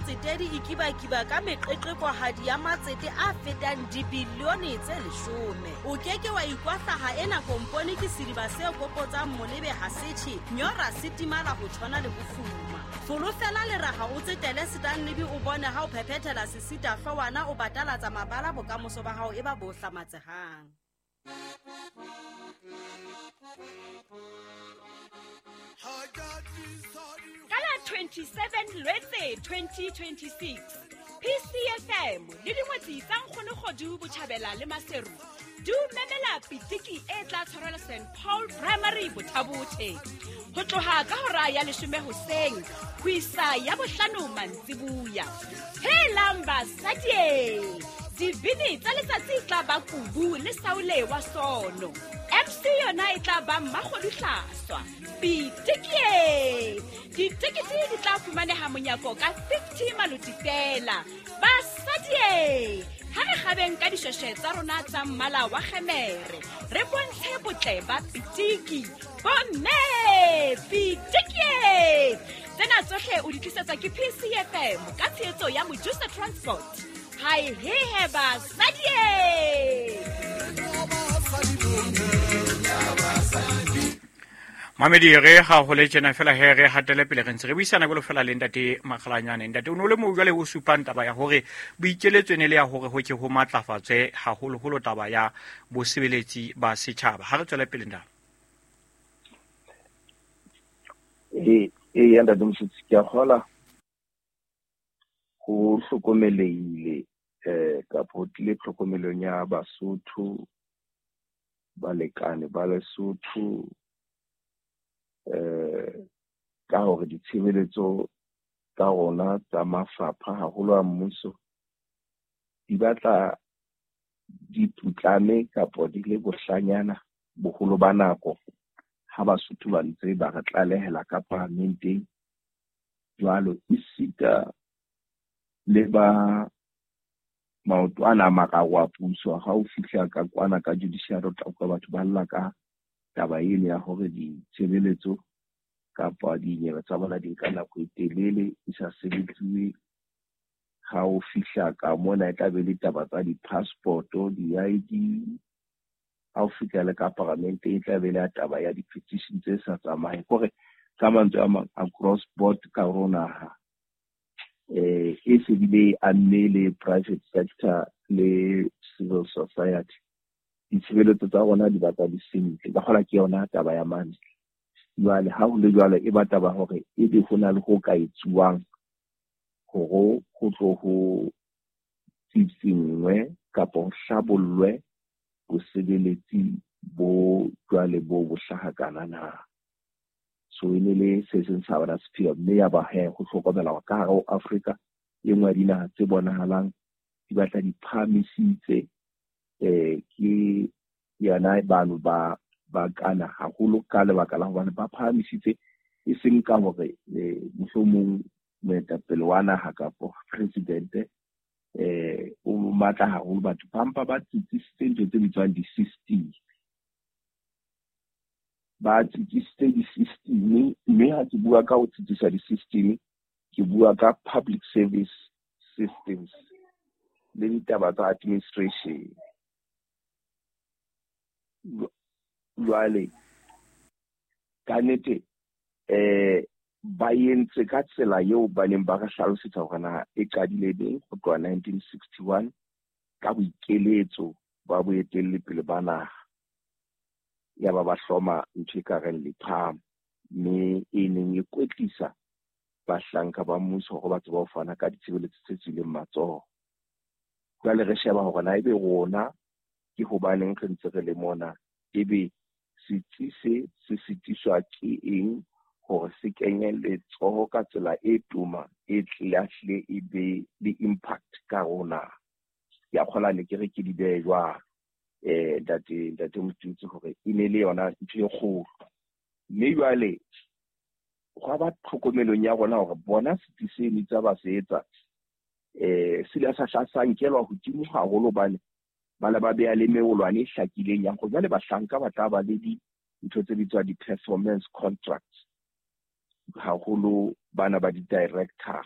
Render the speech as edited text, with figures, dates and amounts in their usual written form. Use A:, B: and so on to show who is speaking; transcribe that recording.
A: motsetedi e kibakiba ka meqeqekohadi ya matsete a fetang dibilione tse 10. O ke ke wa ikwahlaha ena kompone ke sediba se kopotsang molebe ha se tjhe, nyora se timala ho tshwana le bofuma. Folofela leraha o tsetele Stanley o bone ha o phephethela sesita hloohwana o batalatsa mabala bokamoso ba hao e ba bo hlamatsehang.
B: Ka la 27 Lwetse 2026, PCFM le dingwetsi tsa Nkgonokgodu Botjhabela le Maseru di o memela pitiki e tla tshwarelwa St Paul Primary Bothabothe ho tloha ka hora ya 10 hoseng ho isa ya 5 mantsibuya. Helang basadi! Dibini tsa letsatsi e tla ba Kubu le Saule wa Sono. MC yona e tla ba Mmakgodu Hlaswa. Pitikie! Ditekete di tla fumaneha monyako ka 50 maloti fela. Basadi! Ha re kgabeng ka dishweshwe tsa rona tsa mmala wa kgemere, re bontshe botle ba pitiki. Bomme! Pitikie! Tsena tsohle o di tlisetswa ke PCFM ka tshehetso ya Mojusa Transport. Hai hehe basadi!
C: Mamedi re ga go le tjena fela he re hatele pele re ntse re buisana jwalo fela le ntate Makgalanyane. Ntate o ne o le moo jwale o supang taba ya hore boikeletso e ne le ya hore ho ke ho matlafatswe haholoholo taba ya bosebeletsi ba setjhaba. Ha re tswele pele ntate.
D: Ee, ntate Mosotsi, ke a kgola ho hlokomelehile kapa ho tlile tlhokomelong ya Basotho, balekane ba Lesotho, ka hore ditshebeletso tsa rona tsa mafapha haholo a mmuso di batla di putlame kapa di le bohlanyana boholo ba nako ha Basotho ba ntse ba re tlalehela ka paramenteng. Jwalo esita le ba maoto ana a mararo a puso, ha o fihla ka kwana ka judiciary o tla utlwa batho ba lla ka taba eno ya hore ditshebeletso kapa dinyewe tsa bona di nka nako e telele di sa sebetsiwe. Ha o fihla ka mona e tla be le taba tsa di-passport-o, di-ID. Ha o fihla le ka paramente e tla be le taba ya di-petition tse sa tsamayeng. Kore ka mantswe a mang across board ka hare ho naha e se bile amme le private sector le civil society. Ditshebeletso tsa rona di batla di sentle. Ka kgola ke yona taba ya mane. Jwale ha ho le jwalo e ba taba hore ebe ho na le ho ka etsuwang hore ho tlo ho tsitsingwe kapa ho hlabollwe bosebeletsi bo jwale bo bo hlaha kana na. So e ne le se seng sa bona sepheo, mme ya ba he ho hlokomela hore ka hare ho Afrika e nngwe ya dinaha tse bonahalang di batla di phahamisitse ke yona bano ba kana haholo ka lebaka la hobane ba phahamisitse e seng ka hore mohlomong moetapele wa naha kapa presidente o matla haholo, batho ba mpa ba tsitsisitse ntho tse bitswang di-system. Ba tsitsisitse di-system, mme ha ke bua ka ho tsitsisa di-system, ke bua ka public service systems le ditaba tsa administration. Jwale ka nnete ba entse ka tsela eo ba neng ba re hlalosetsa hore na e qadile neng ho tloha 1961 ka boikeletso ba boetelli pele ba naha. Ya ba ba hloma ntho e ka reng lepham, mme e neng e kwetlisa bahlanka ba mmuso hore ba tsebe ho fana ka ditshebeletso tse tswileng matsoho. Jwale re sheba hore na ebe rona ke hobaneng re ntse re le mona, ebe setsi se se sitiswa ke eng hore se kenye letsoho ka tsela e toma e tle e be le impact ka rona. Ke a kgola ne ke re ke di behe jwalo ntate Motutsi hore e ne le yona ntho e kgolo. Mme jwale gwa ba tlhokomelong ya rona hore bona setsi seno tsa ba se etsa se ile sa hla sa nkelwa hodimo haholo hobane ba le ba beha le meolwane e hlakileng ya hore jwale bahlanka ba tla ba le dintho tse bitswang di-performance contracts, haholo bana ba di-director.